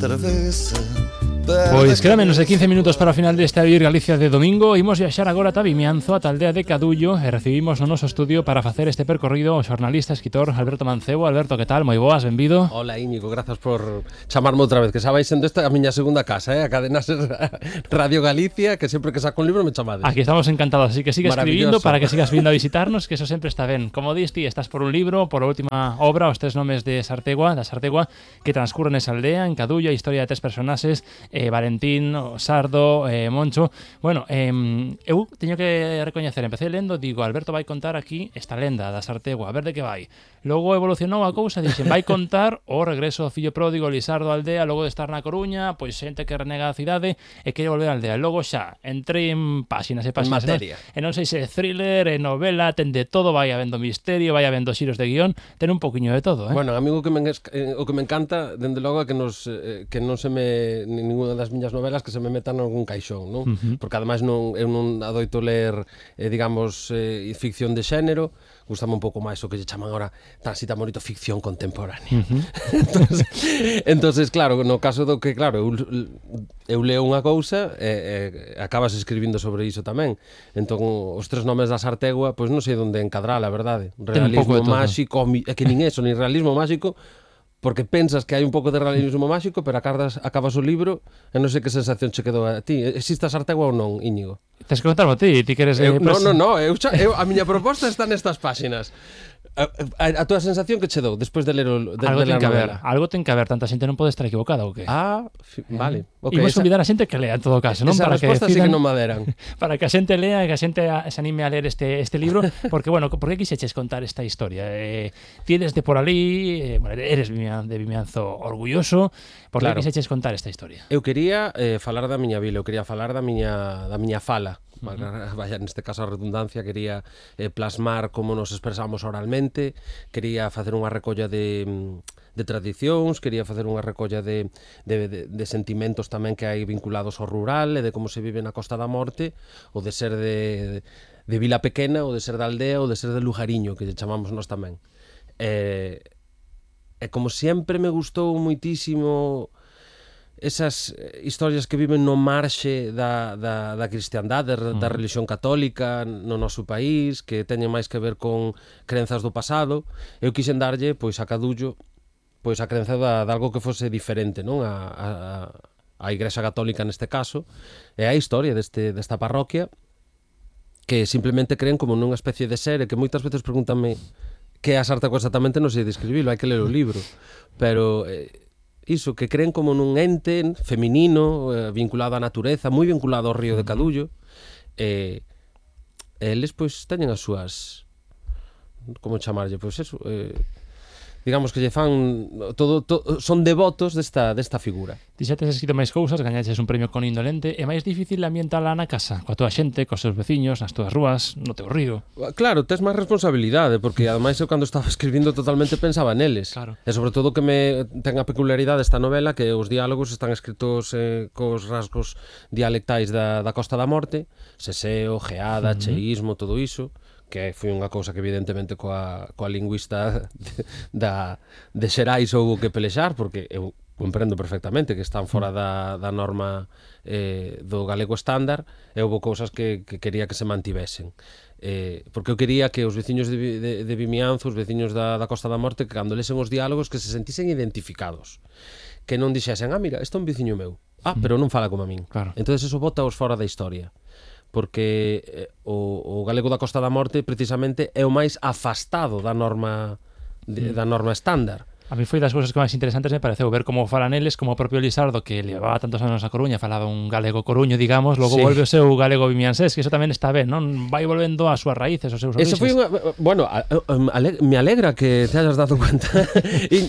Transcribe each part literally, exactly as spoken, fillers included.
travesa. Pois queda menos de quince minutos para o final deste A Vivir Galicia de domingo. Imos viaxar agora ata Vimianzo, ata a aldea de Cadullo, e recibimos no noso estudio para facer este percorrido o xornalista, escritor Alberto Mancebo. Alberto, que tal? Moi boas, benvido. Hola Íñigo, grazas por chamarme outra vez, que xa vai sendo esta a miña segunda casa, eh? A cadena Ser Radio Galicia, que sempre que saco un libro me chamades. Aquí estamos encantados, así que siga escribindo para que sigas vindo a visitarnos, que eso sempre está ben. Como dis ti, estás por un libro, por a última obra, os tres nomes de Sartegua, da Sartegua, que transcurren nesa aldea, en Cadullo, a historia de tres personaxes, eh, Valentín, Sardo, eh, Moncho. Bueno, eh, eu teño que recoñecer, empecé lendo, digo, Alberto vai contar aquí esta lenda da Sartegua, a ver de que vai. Logo evolucionou a cousa, dixen, vai contar o regreso do fillo pródigo Lisardo á aldea, logo de estar na Coruña, pois xente que renega a cidade e quere volver á aldea. Logo xa, entrei en páxinas e páxinas, materia. E non sei se é thriller, é novela, ten de todo, vai habendo misterio, vai habendo xiros de guión, ten un poquinlo de todo, eh? Bueno, a mí o que me, o que me encanta, dende logo, é que, nos, eh, que non se me, ninguna das miñas novelas que se me metan algún caixón, non? Uh-huh. Porque ademais non, eu non adoito ler, eh, digamos, eh, ficción de xénero, gustame un pouco máis o que lle chaman agora tan cita bonito ficción contemporánea. Uh-huh. entonces, entonces, claro, no caso do que, claro, eu, eu leo unha cousa e eh, acabas escribindo sobre iso tamén. Entón, os tres nomes da Sartegua, pois non sei onde encadrala, a verdade. Realismo máxico, é que nin eso, nin realismo máxico, porque pensas que hai un pouco de realismo máxico, pero acabas, acabas o libro e non sei que sensación che quedou a ti. Existe a Sartegua ou non, Íñigo? Tens que contarmo a ti, ti queres... Eu, Eh, no, no, no, eu, eu, a miña proposta está nestas páxinas. A, a, a túa sensación que che dou despois de ler o de, algo de ten que haber, algo ten que haber, tanta xente non pode estar equivocada ou que? Ah, fi, vale. Okay, imos convidar a xente que lea en todo caso, non? Esa Para que resposta decidan, sí que non maderan. Para que a xente lea e que a xente se anime a ler este este libro, porque bueno, por que quixeches contar esta historia? Eh, tienes de por ali, eh, bueno, eres de Vimianzo orgulloso, por claro. que quixeches contar esta historia? Eu quería eh, falar da miña vila, eu quería falar da miña da miña fala. Uh-huh. Vaya, neste caso a redundancia, quería eh, plasmar como nos expresamos oralmente, quería facer unha recolla de, de tradicións, quería facer unha recolla de, de, de, de sentimentos tamén que hai vinculados ao rural e de como se vive na Costa da Morte, ou de ser de, de, de vila pequena, ou de ser da aldea, ou de ser de lugariño, que lle chamamos nós tamén. E, e como sempre me gustou moitísimo esas historias que viven no marxe da, da, da cristiandade, da, da religión católica no noso país, que teñen máis que ver con crenzas do pasado. Eu quixen darlle, pois, a Cadullo, pois, a crenza da, de algo que fose diferente, non? A, a, a Igrexa Católica neste caso, e a historia deste, desta parroquia, que simplemente creen como nunha especie de ser, e que moitas veces pregúntame que é a Sartegua exactamente, non sei describilo, hai que ler o libro, pero... Eh, iso, que creen como nun ente feminino, eh, vinculado á natureza, moi vinculado ao río de Cadullo, e eh, eles, pois, teñen as súas, como chamarlle, pois eso, eh, digamos que lle fan todo, todo, son devotos desta, desta figura. Ti xa tes escrito máis cousas, gañaches un premio con Indolente, é máis difícil ambientala na casa, coa tua xente, cos seus veciños, nas túas rúas, no teu río. Claro, tes máis responsabilidade, porque ademais eu cando estaba escribindo totalmente pensaba neles. Claro. E sobre todo que me ten a peculiaridade esta novela, que os diálogos están escritos eh, cos rasgos dialectais da, da Costa da Morte, seseo, geada, uh-huh. cheísmo, todo iso, que foi unha cousa que evidentemente coa, coa lingüista de, da, de Xerais houbo que pelexar, porque eu comprendo perfectamente que están fora da, da norma eh, do galego estándar, e houbo cousas que, que quería que se mantivesen. Eh, porque eu quería que os veciños de, de, de Vimianzo, os veciños da, da Costa da Morte, que cando lesen os diálogos, que se sentisen identificados. Que non dixesen, ah, mira, este é un veciño meu. Ah, pero non fala como a min. Claro. Entón, eso bota os fora da historia. Porque eh, o, o galego da Costa da Morte precisamente é o máis afastado da norma de, da norma estándar. A mí foi das cousas que máis interesantes me pareceu ver como falan eles, como o propio Lisardo, que levaba tantos anos a Coruña, falaba un galego coruño, digamos, logo sí. volve o seu galego vimiansés, que eso tamén está ben, non? Vai volvendo ás súas raíces, aos seus oríxes. Eso foi unha, bueno, a, a, a, me alegra que te hayas dado cuenta.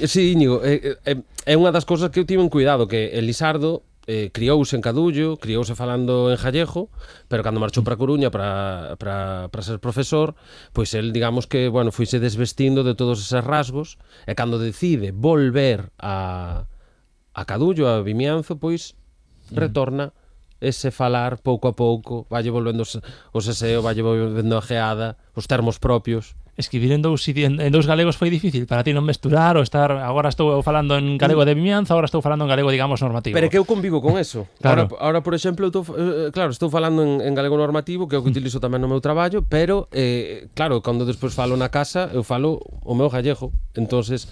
Sí, Íñigo, é, é, é unha das cousas que eu tive en cuidado, que el Lisardo eh, criouse en Cadullo, criouse falando en gallego, pero cando marchou para Coruña para, para, para ser profesor, pois el, digamos que, bueno, foise desvestindo de todos eses rasgos, e cando decide volver a, a Cadullo, a Vimianzo, pois retorna ese falar pouco a pouco, valle volvendo o seseo, valle volvendo a geada, os termos propios, escribir en dous, en, en dous galegos foi difícil para ti non mesturar ou estar, agora estou falando en galego de Vimianzo, agora estou falando en galego, digamos, normativo. Pero que eu convivo con eso. Claro. Ahora, ahora por exemplo, eu tô, eh, claro, estou falando en, en galego normativo, que é o que utilizo tamén no meu traballo, pero, eh, claro, cando despois falo na casa, eu falo o meu gallego. Entonces,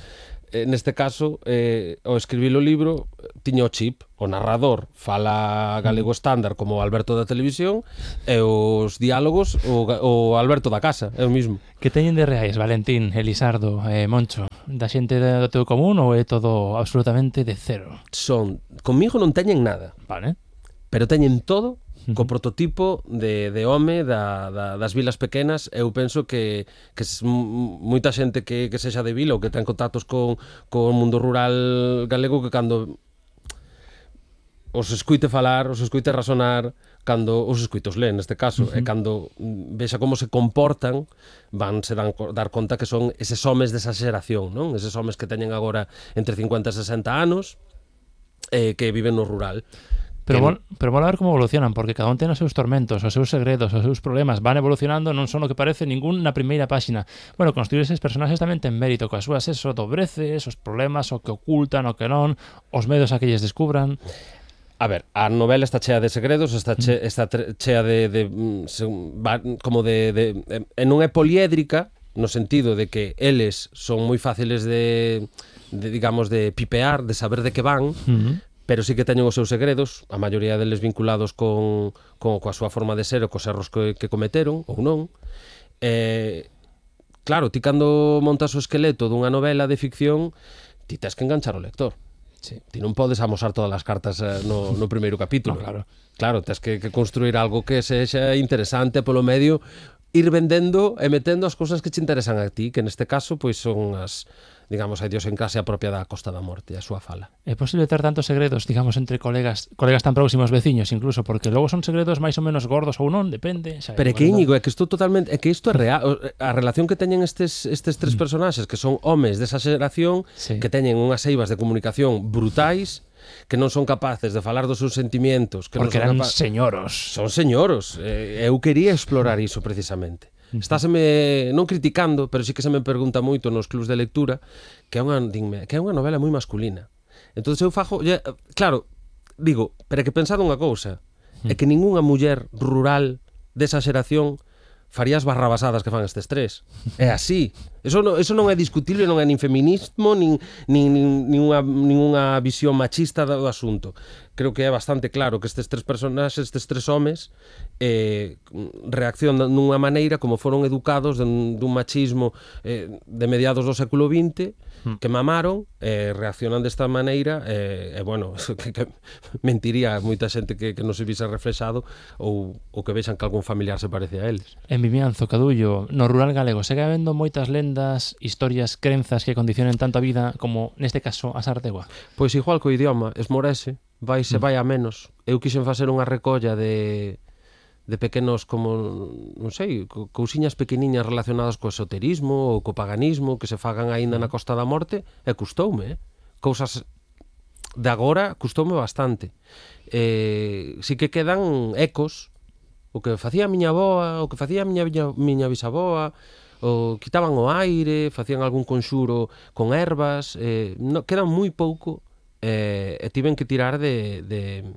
eh, neste caso, eh, ao escribir o libro, tiña o chip, o narrador fala galego estándar como o Alberto da televisión e os diálogos o, o Alberto da casa, é o mismo. Que teñen de reais, Valentín, Elisardo, eh, Moncho, da xente do teu común ou é todo absolutamente de cero? Son, comigo non teñen nada. Vale. Pero teñen todo co prototipo de, de home da, da, das vilas pequenas. Eu penso que, que moita xente que, que sexa de vila ou que ten contactos con, con o mundo rural galego, que cando os escuite falar, os escuite razonar, cando os escuitos leen neste caso, uh-huh. e cando vexa como se comportan, van se dan, dar conta que son eses homes desa xeración, non? Eses homes que teñen agora entre cincuenta e sesenta anos, eh, que viven no rural. Pero, vol, pero vol a ver como evolucionan, porque cada un ten os seus tormentos, os seus segredos, os seus problemas, van evolucionando, non son o que parece ningún na primeira páxina. Bueno, construir eses personaxes tamén ten mérito, coas súas eso, dobreces, os problemas, o que ocultan, o que non, os medos a que lles descubran. A ver, a novela está chea de segredos, está, che, está chea de, de, de como de, de, de e non é poliédrica, no sentido de que eles son moi fáciles de, de digamos, de pipear, de saber de que van, uh-huh. pero sí que teñen os seus segredos, a maioría deles vinculados con, con coa súa forma de ser ou cos erros que, que cometeron ou non. Eh, claro, ti cando montas o esqueleto dunha novela de ficción, ti tens que enganchar o lector. Sí. Ti non podes amosar todas as cartas eh, no, no primeiro capítulo. No, claro. Claro, tens que, que construir algo que sexa interesante polo medio, ir vendendo e metendo as cousas que te interesan a ti, que neste caso pois son as, digamos, a idiosincrasia propia da Costa da Morte, a súa fala. É posible ter tantos segredos, digamos, entre colegas, colegas tan próximos, veciños, incluso, porque logo son segredos máis ou menos gordos ou non, depende. Xa, pero é que, Íñigo, é que isto totalmente, é que isto é real, a relación que teñen estes estes tres personaxes, que son homes desa xeración, sí. que teñen unhas eivas de comunicación brutais, que non son capaces de falar dos seus sentimientos, que porque non son eran capa... señoros. Son señoros. Eh, eu quería explorar iso precisamente. Estáseme non criticando, pero sí que se me pergunta moito nos clubs de lectura que é unha, dime, que é unha novela moi masculina. Entonces eu fajo, ya, claro, digo, pero é que pensado unha cousa, é que ningunha muller rural desa xeración faría as barrabasadas que fan estes tres. É así. Eso non, eso non é discutible, non é nin feminismo, nin, nin, nin, unha, nin unha visión machista do asunto. Creo que é bastante claro que estes tres personaxes, estes tres homes, eh, reaccionan dunha maneira como foron educados dun, dun machismo eh, de mediados do século vinte, que mamaron, eh, reaccionan desta maneira, e, eh, eh, bueno, que, que mentiría moita xente que, que non se vise reflexado ou, ou que vexan que algún familiar se parece a eles. En Vimianzo, Cadullo, no rural galego, segue habendo moitas lendas, historias, crenzas que condicionen tanto a vida como, neste caso, a Sartegua? Pois igual co idioma, esmorese, vai se vai a menos. Eu quixen facer unha recolla de de pequenos, como, non sei, cousiñas pequeniñas relacionadas co esoterismo ou co paganismo que se fagan aínda na Costa da Morte, e custoume, eh? Cousas de agora custoume bastante. Eh, si que quedan ecos, o que facía a miña avoa, o que facía a miña, miña, miña bisaboa, o quitaban o aire, facían algún conxuro con ervas, eh, no, quedan moi pouco, eh, e tiven que tirar de, de,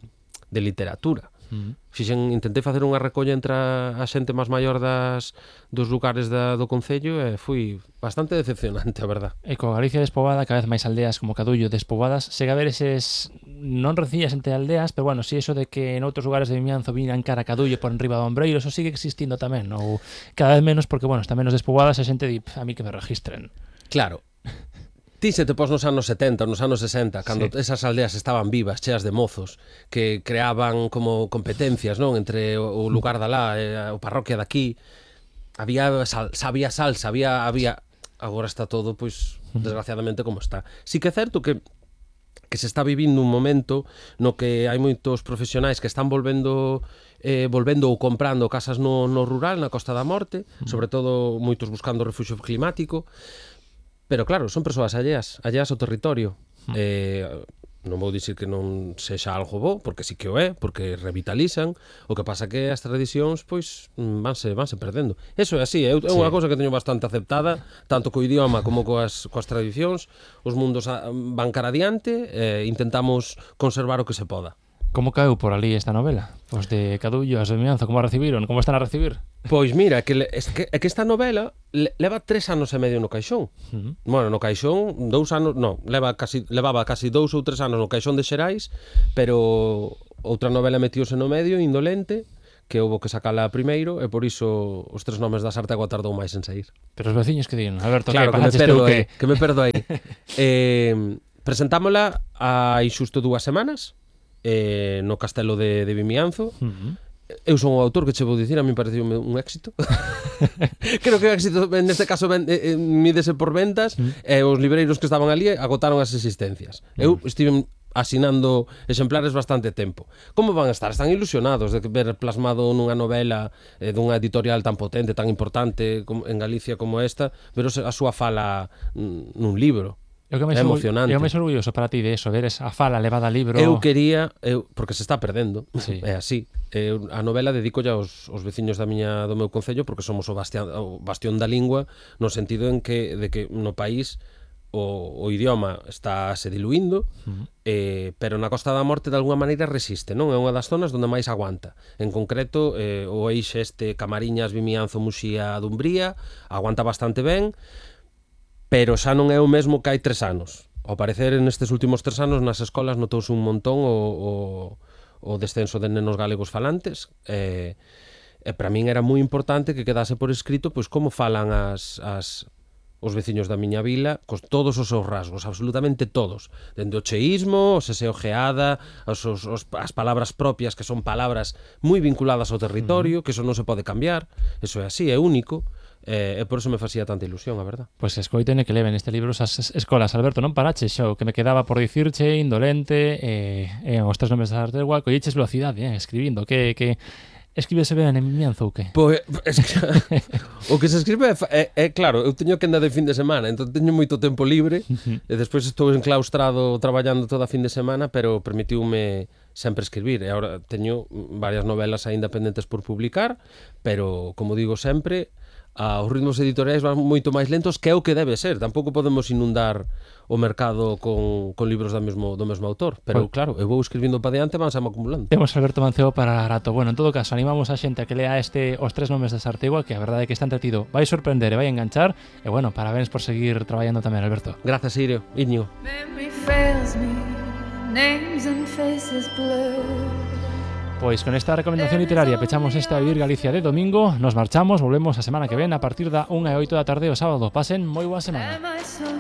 de literatura. Uh-huh. Fixen, intentei facer unha recolla entre a, a xente máis maior das, dos lugares da, do Concello, e foi bastante decepcionante, a verdad. E co Galicia despoboada, cada vez máis aldeas como Cadullo despoboadas, chega a ver eses, non rencillas entre aldeas, pero bueno, si eso de que en outros lugares de Vimianzo vinan cara a Cadullo por enriba do Ombreiro, eso sigue existindo tamén, ou cada vez menos, porque bueno, está menos despoboadas, a xente di, a mí que me registren. Claro. Ti se te pos nos anos setenta, nos anos sesenta, cando sí. esas aldeas estaban vivas, cheas de mozos, que creaban como competencias, non, entre o lugar da lá e o parroquia daqui, había sal, sabía salsa, había, había... Agora está todo, pois, desgraciadamente como está. Sí que é certo que que se está vivindo un momento no que hai moitos profesionais que están volvendo eh, volvendo ou comprando casas no, no rural, na Costa da Morte, sobre todo moitos buscando refugio climático. Pero claro, son persoas alleas, alleas ao territorio. Eh, non vou dicir que non sexa algo bo, porque sí que o é, porque revitalizan, o que pasa que as tradicións pois vanse, vanse perdendo. Eso é así, é unha sí. cousa que teño bastante aceptada, tanto co idioma como coas, coas tradicións, os mundos van cara adiante, e intentamos conservar o que se poda. Como caeu por ali esta novela? Pois de Cadullo, as de Vimianzo, como a recibiron? Como están a recibir? Pois mira, que, é que, que esta novela leva tres anos e medio no caixón. Uh -huh. Bueno, no caixón, dous anos, non, leva casi, levaba casi dous ou tres anos no caixón de Xerais, pero outra novela metiose no medio, Indolente, que houve que sacala primeiro, e por iso os tres nomes da Sartegua tardou máis en sair. Pero os veciños que din, Alberto, claro, que, que me perdo aí, que me perdo aí. eh, presentámola hai xusto dúas semanas, eh, no castelo de, de Vimianzo. Uh -huh. Eu son o autor, que che vou dicir, a mí pareceu un éxito. Creo que o éxito neste caso ven, eh, mídese por ventas, uh -huh. e os libreiros que estaban ali agotaron as existencias. Uh -huh. Eu estive asinando exemplares bastante tempo. Como van a estar? Están ilusionados de ver plasmado nunha novela eh, dunha editorial tan potente, tan importante como, en Galicia como esta, ver a súa fala nun libro. É emocionante. É o máis orgulloso para ti de eso, ver esa fala levada a libro. Eu quería, eu, porque se está perdendo, sí. é así. Eu, a novela dedico aos, aos veciños da miña, do meu concello, porque somos o bastión, o bastión da lingua, no sentido en que, de que no país o, o idioma está se diluindo, uh -huh. eh, pero na Costa da Morte de alguna maneira resiste, non? É unha das zonas onde máis aguanta. En concreto, eh, o eixe este Camariñas, Vimianzo, Muxía, Dumbría, aguanta bastante ben, pero xa non é o mesmo que hai tres anos. Ao parecer, nestes últimos tres anos, nas escolas notouse un montón o, o, o descenso de nenos galegos falantes, e, e para min era moi importante que quedase por escrito pois como falan as, as, os veciños da miña vila, cos todos os seus rasgos, absolutamente todos, dende o cheísmo, o seseojeada, os, os, os, as palabras propias, que son palabras moi vinculadas ao territorio, que eso non se pode cambiar, eso é así, é único. E eh, por eso me facía tanta ilusión, a verdad. Pois pues escoiten que leven este libro esas escolas. Alberto, non parache xo, que me quedaba por dicirche, Indolente, e eh, eh, os tres nomes da Sartegua, colliches velocidade, eh, escribindo, que... que... Escríbese ben en Vimianzo ou que? Pois, es que, o que se escribe é, é, é claro, eu teño que andar de fin de semana, entón teño moito tempo libre, e despois estou enclaustrado traballando toda a fin de semana, pero permitiume sempre escribir, e agora teño varias novelas aínda pendentes por publicar, pero, como digo sempre, a, os ritmos editoriais van moito máis lentos, que é o que debe ser. Tampouco podemos inundar o mercado con, con libros do mesmo, do mesmo autor, pero pues, claro, eu vou escribindo para diante, vanse acumulando. Temos Alberto Mancebo para rato. Bueno, en todo caso, animamos a xente a que lea este Os tres nomes da Sartegua, que a verdade é que está entretido, vai sorprender e vai enganchar, e bueno, parabéns por seguir traballando tamén, Alberto. Gracias, Irio. Iñigo. Pois con esta recomendación literaria pechamos esta Vivir Galicia de domingo. Nos marchamos, volvemos a semana que ven a partir da unha e oito da tarde o sábado. Pasen moi boa semana.